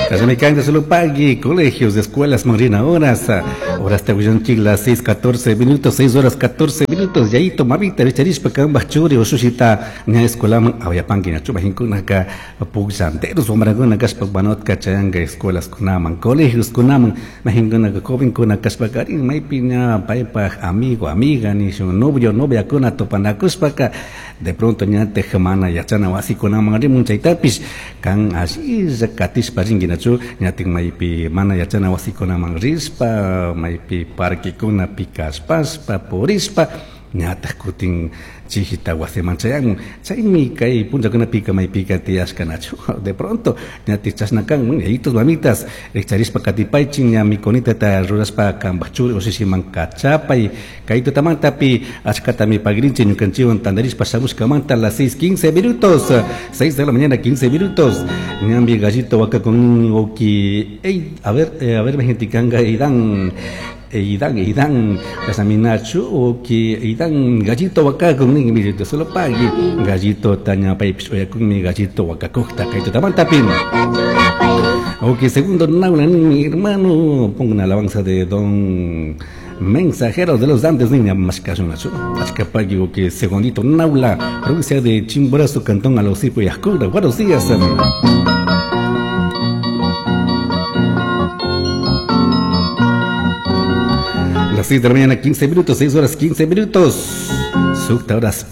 Kashamikanga solo pagui, colegios, escuelas, marina horas, horas te las 6, 14 minutos, 6 horas 14 minutos, yayito, mamita, richarishpa, kambaj churi, ushushita, ña escuelaman, awayapanki, ña chumahinkunaka, pukllanteros, wamrakuna kashpa, banotka chayanga escuelas kunaman, colegios kunaman, mahinkunaka, jovenkuna kashpakarin, maypi ña paypaj amigo, amiga, nishun, novio, noviakuna tupanakushpaka, de pronto ñataj mana yachana wasikunaman rimun chaytapish, kan ashilla katishpa rinkinachu, ñatin maypi mana yachana wasikunaman rishpa, maypi parquekunapi kashpashpa, purishpa, ñataj kutin chihita wasiman chayanmun, chaymi kay punllakunapika maypika tiyashkanachu, de pronto ñatik chashna kanman, yayitos mamitas, rikcharishpa katipaychin ña mikunitata rurashpa kambaj churi ushishiman kachapay, kay tutamantapi achkatami pagrinchik ñukanchikwan tantarishpa shamushkamanta las 6:15 minutos, 6 de la mañana 15 minutos, ñambi gallito wakakun oki, ey, a ver, gente kanga Eidan, Eidan, Eidan, kasaminachu, oki, Eidan, gallito wakakun, nin, mire, solo pagui, gallito taña paypis oyakunmi, gallito wakakujta, kay tutamantapi. Ok, segundo naula, mi hermano, pongo una alabanza de don Mensajero de los Andes, niña, más que una achca pagui, ok, segundito, Naula, provincia de Chimborazo, Cantón Alosipo y Ascura. Buenos días. Las 6 de la mañana, 15 minutos, 6 horas 15 minutos. Sucta horas.